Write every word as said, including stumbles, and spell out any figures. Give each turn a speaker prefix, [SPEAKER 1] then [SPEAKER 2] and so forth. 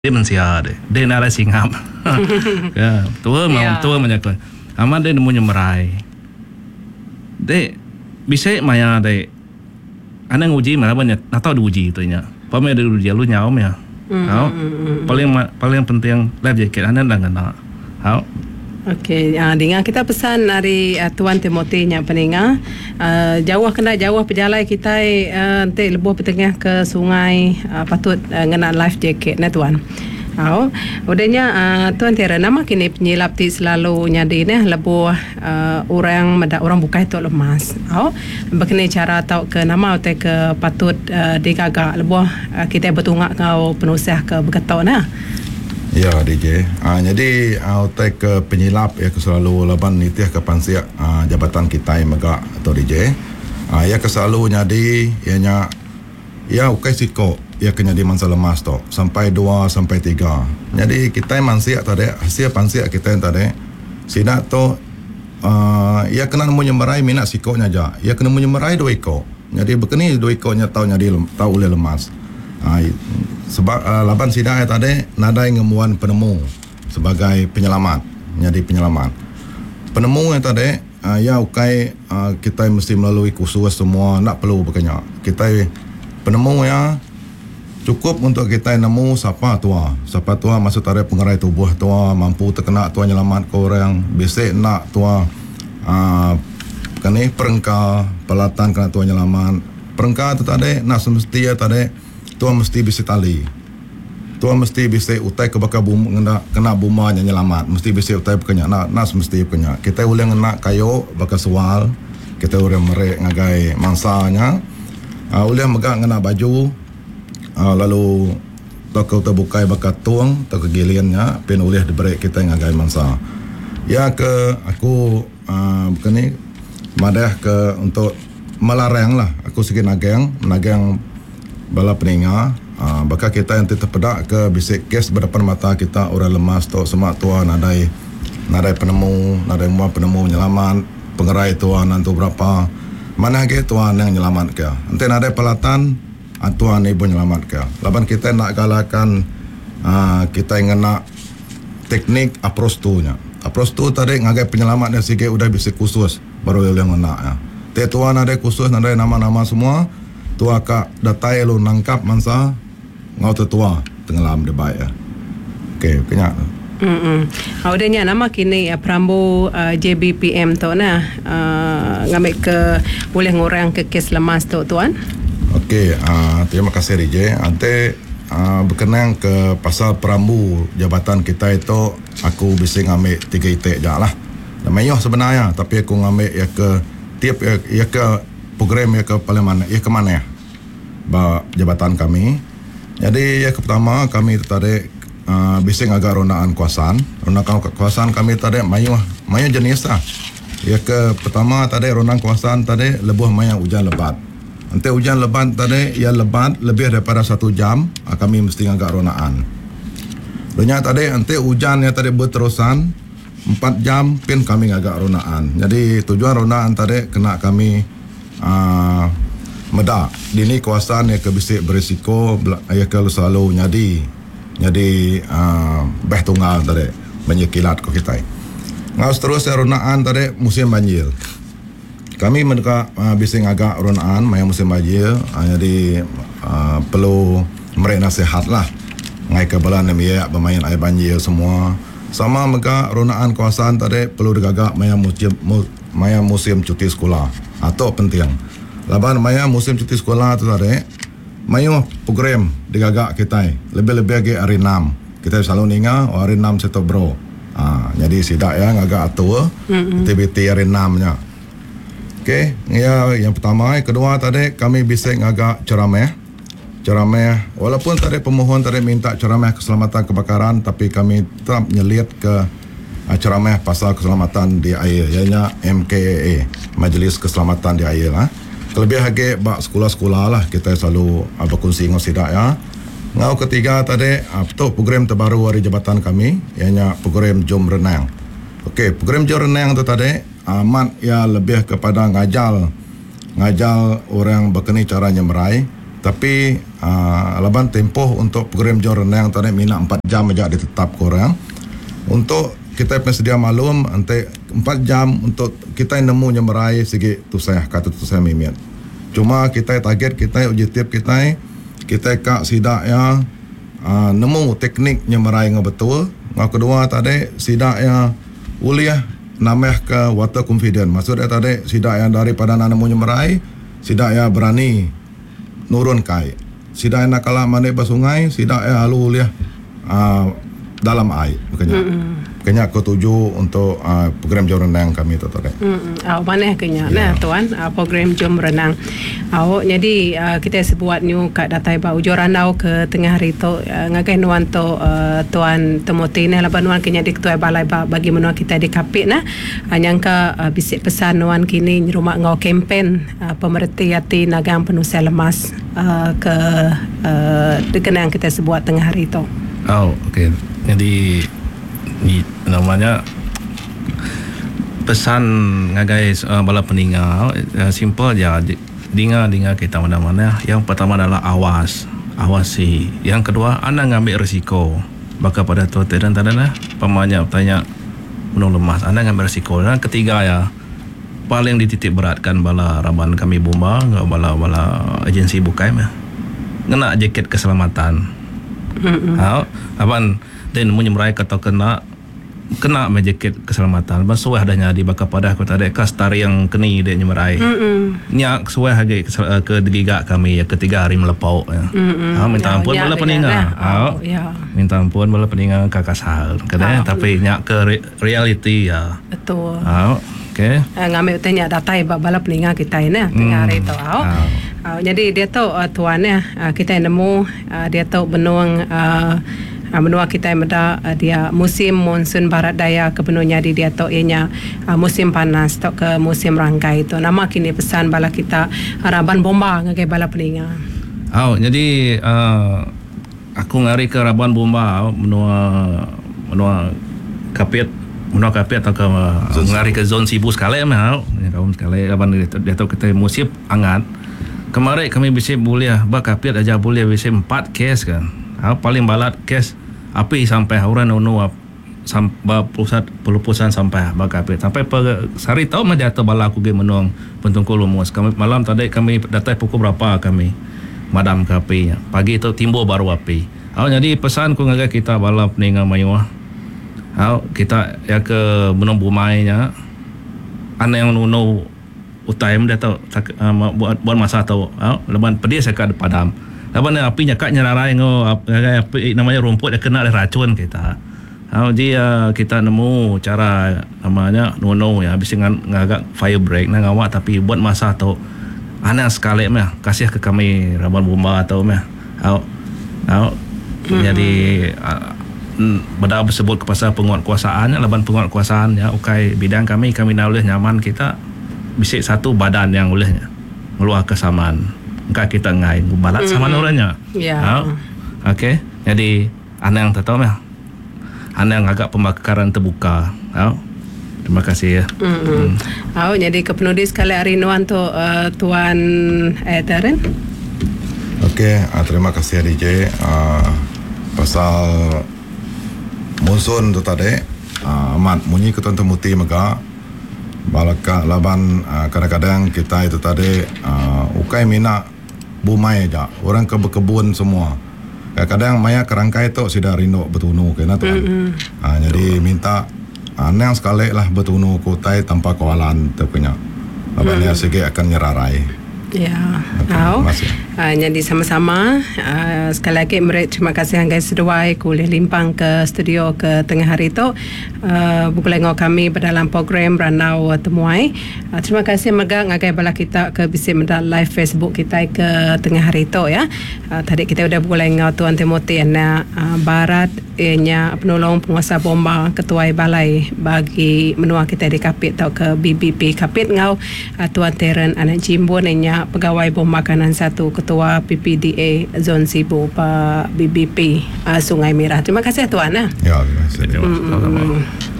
[SPEAKER 1] Dek mensia dek. Dek nadai singap. Ya, betul yeah. Betul menya aku. Amat dek nemu nyemerai. Dek bisi maya dek anang nguji meh laban nya natau diuji tu nya. Pama dek diuji lalu nyau meh. Mm. Au. Paling paling penting life jacket anang enda ngena. Au.
[SPEAKER 2] Okey, uh, dinga kita pesan ari uh, Tuan Timothy nya peninga. Uh, jauh kena jauh pejalai kitai uh, enti lebuh betengah ke sungai uh, patut uh, ngena life jacket ne tuan. Au. Udah nya uh, Tuan Tira nama kini penyilap ti selalu nyadi neh lebuh uh, orang meda orang bukai tu lemas. Au. Bekeni cara tau ke nama utai ke patut uh, digaga lebuh uh, kitai betunga enggau penusah ke beketo neh.
[SPEAKER 3] Ya D J. Ha, jadi utai ke penyilap ya ke selalu laban nitih ke pansik ha, jabatan kitai mega atau D J. Ha, ya ke selalu nyadi ianya ya ukai siko ya ke nyadi mangsa lemas tu sampai dua sampai tiga. Jadi kitai mansik tadi hasil pansik kitai tadi sida tu uh, ya kena nemu nyemerai minat siko nya aja. Ya kena nemu nyemerai dua iko. Jadi bekeni dua iko nya tau nyadi tau ulih lemas. Ha, sebab uh, laban sida tadi nadai ngemuan penemu sebagai penyelamat, jadi penyelamat. Penemu yang tadi uh, ya ukai uh, kita mesti melalui kursus semua nak perlu berkenya. Kita penemu ya cukup untuk kita nemu siapa tua. Siapa tua maksud tarik pengerai tubuh tua mampu terkena tua nyelamat ke orang, bisik nak tua uh, kene perengka peralatan kena tua nyelamat. Perengka tu tadi nak semesti ya tadi tua mesti bisa tali. Tua mesti bisa utai ke bakal bum, kena, kena buma nya nyelamat. Mesti bisa utai bekenya. Nak, nak semesti bekenya. Kita boleh ngena kayu bakal sual. Kita boleh merek ngagai mangsanya. Uh, boleh megak ngena baju. Uh, lalu toko terbukai bakal tuang toko giliannya pin boleh diberi kita ngagai mangsa. Ya ke aku uh, bukan ni madah ke untuk melarang lah. Aku sikit nagang, nagang bala peninga, uh, bakal kita yang terpedak ke bisik kes berdepan mata kita orang lemas tu semak tua nadai nadai penemu, nadai mua penemu penyelamat, pengerai tua nantu berapa, mana ke tua yang nyelamat ke. Ente nadai peralatan tua ni pun nyelamat ke. Laban kita nak galakan uh, kita ngena teknik approach tu nya. Approach tu tadi ngagai penyelamat dia sikit udah bisik khusus baru boleh ngena ya. Te tua nadai khusus nadai nama-nama semua. Tua kak datai lu nangkap mangsa ngau tetua tenggelam de baik ya. Okey, kena.
[SPEAKER 2] Hmm. Mm. Udah nya nama kini perambu uh, J B P M tu nah uh, ngambil ke boleh ngurang ke kes lemas tu tuan.
[SPEAKER 3] Okey, uh, terima kasih D J. Ante uh, berkenaan ke pasal perambu jabatan kita itu aku bisa ngambil tiga itik je lah. Dan mayoh sebenarnya tapi aku ngambil ya ke tiap ya, ya ke program ya ke paling mana ya ke mana ya ba jabatan kami. Jadi yang pertama kami tertarik uh, bising agak rondaan kawasan. Rondaan kawasan kami tadi mayuh mayuh jenis lah. Yang ke pertama tadi rondaan kawasan tadi lebuh mayang hujan lebat. Nanti hujan lebat tadi ya lebat lebih daripada satu jam uh, kami mesti agak rondaan. Dunia tadi nanti hujan yang tadi berterusan empat jam pin kami agak rondaan. Jadi tujuan rondaan tadi kena kami uh, medak dini kawasan yang kebisik berisiko ya ke selalu nyadi nyadi uh, beh tunggal tadi banyak kilat ko kita. Ngau seterusnya rondaan tadi musim banjir. Kami mereka uh, bising agak rondaan maya musim banjir uh, jadi uh, perlu mereka nasihat lah. Ngai ke bala nembiak bermain air banjir semua. Sama mega rondaan kawasan tadi perlu digagak maya musim maya musim cuti sekolah. Atau penting. Laban maya musim cuti sekolah tu tadi mayu program digagak kita lebih-lebih lagi hari enam. Kita selalu ninga oh, hari enam seto bro. Ha, jadi sidak ya ngagak atur mm-hmm. aktiviti hari enam nya. Okey, ya yang pertama, yang kedua tadi kami bisa ngagak ceramah. Ceramah walaupun tadi pemohon tadi minta ceramah keselamatan kebakaran tapi kami tetap nyelit ke ceramah pasal keselamatan di air ianya M K A A, Majlis Keselamatan di Air lah. Kelebih lagi bak sekolah-sekolah lah kita selalu uh, berkongsi dengan sidak ya. Ngau ketiga tadi uh, tu program terbaru dari jabatan kami ianya program Jom Renang. Okey, program Jom Renang tu tadi amat uh, ya lebih kepada ngajal ngajal orang berkeni cara nyemerai tapi uh, laban tempoh untuk program jom renang tadi mina empat jam aja ditetap korang. Untuk kita sedia maklum ante empat jam untuk kita nemu nyemerai segi tusah kata tusah mimit. Cuma kita target kita objektif kita kita kak sidak ya uh, nemu teknik nyemerai ngau betul. Ngau kedua tadi sidak ya uliah namah ke water confident. Maksud dia tadi sidak yang daripada nemu nyemerai sidak ya berani nurun kai. Sidak nak kalah mandi bersungai sidak ya halu uliah uh, dalam air. Makanya mm-hmm. Kenya aku tuju untuk uh, program jom renang kami tu tadi.
[SPEAKER 2] Hmm, aw mana kenya nah tuan uh, program jom renang. Aw jadi uh, kita sebuat new kat datai ba ujur randau ke tengah hari tu uh, ngagai nuan tu uh, tuan Timothy ni laban nuan kenya di ketua balai ba bagi menua kita di Kapit nah. Uh, nyangka uh, bisik pesan nuan kini rumah ngau kempen uh, pemerti hati nagang penuh lemas uh, ke uh, dikenang kita sebuat tengah hari tu.
[SPEAKER 1] Oh, okey. Jadi ni namanya pesan ngagai uh, bala peninga uh, simple je dinga-dinga kita mana-mana. Yang pertama adalah awas, awasi. Yang kedua anda ngambil risiko. Baka pada tu dan tadi lah pemanya tanya menung lemas, anda ngambil risiko. Dan ketiga ya paling dititik beratkan bala raban kami bomba, bala-bala agensi bukai mah. Ngena jaket keselamatan. Mm-hmm. Ha, aban dan nemu nyemerai atau kena kena jaket keselamatan. Basuh adanya di bakal padah aku tadi kas tari yang keni dia nyemerai. Mm-mm. Nyak suah lagi ke, ke digiga kami ya ketiga hari melepau ya. Ha, minta ampun bala peninga. Ha, ya. Minta ampun bala peninga kakak sahal. Kena oh. Tapi nyak ke re- reality ya.
[SPEAKER 2] Betul.
[SPEAKER 1] Ha, okey.
[SPEAKER 2] Uh, ngambil tanya datai bala peninga kita ini tengah hari tu. Ha. Uh, jadi dia tu uh, tuan ya uh, kita nemu uh, dia tu benung uh, menua kita meda uh, dia musim monsun barat daya kepenuhnya di dia tu ianya uh, musim panas atau ke musim rangkai itu. Nama kini pesan bala kita raban bomba ngagai bala peninga.
[SPEAKER 1] Oh, jadi uh, aku ngari ke raban bomba menua menua Kapit menua Kapit atau ke uh, ngari ke zon Sibu sekali mah. Ya kaum sekali raban dia, dia tu kita musim angat. Kemarin kami bisa boleh bak Kapit aja boleh bisa empat kes kan. Ha, paling balat kes api sampai orang nunu sampai pusat pelupusan sampai bak Kapit sampai per sehari tau mah jatuh bala aku ge menung pentungkul lumus. Kami malam tadi kami datai pukul berapa kami madam ke api pagi tu timbul baru api. Ha, jadi pesan ku ngagai kita bala peninga mayuh. Ha, kita ya ke menung bumainya ana yang nunu utai dia tau uh, buat buat masa tau. Ha, leban pedih saya kat padam. Laban api nyakat nyerarai ngo api namanya rumput dia kena racun kita. Ha jadi uh, kita nemu cara namanya nono ya habis dengan ngagak fire break nak ngawak tapi buat masa tu ana sekali mah kasih ke kami raban bomba atau mah. Ha ha jadi uh, benda bersebut ke pasal penguatkuasaan laban penguatkuasaan ya ukai bidang kami kami nak boleh nyaman kita bisik satu badan yang bolehnya ngeluar kesamaan. Engkau kita ngai balat sama mm-hmm. orangnya.
[SPEAKER 2] Ya.
[SPEAKER 1] Yeah. Okey. Jadi anang tak tahu mah. Anang agak pembakaran terbuka. Ha. Terima kasih ya.
[SPEAKER 2] Mm-hmm. Mm. Oh, jadi ke penulis sekali hari nuan tu uh, Tuan eh, Terren.
[SPEAKER 3] Okey, uh, terima kasih D J. Uh, pasal monsun tu tadi, uh, amat munyi ke tuan temuti mega. Balaka laban uh, kadang-kadang kita itu tadi uh, ukai mina bumai aja orang ke berkebun semua kadang-kadang maya kerangkai tu sudah rindu bertunu kena tuan. Mm-hmm. Uh, jadi minta anang sekali lah bertunu kutai tanpa kawalan tu punya laban mm-hmm. dia segi akan nyerarai.
[SPEAKER 2] Ya, okay, uh, jadi sama-sama uh, sekali lagi mereka terima kasih hanggai seduai kuliah limpang ke studio ke tengah hari tu uh, buku lengok kami berdalam program Ranau Temuai. Uh, terima kasih mega ngagai bala kita ke bisi meda live Facebook kita ke tengah hari tu ya. Uh, tadi kita udah buku lengok Tuan Timothy anak uh, Barat ianya penolong penguasa bomba ketua balai bagi menua kita di Kapit atau ke B B P Kapit ngau uh, Tuan Terren anak Jimbun ianya pegawai bom makanan satu ketua P P D A Zon Sibu Pak B B P uh, Sungai Merah. Terima kasih tuan.
[SPEAKER 3] Ya, terima kasih.
[SPEAKER 2] Mm-hmm.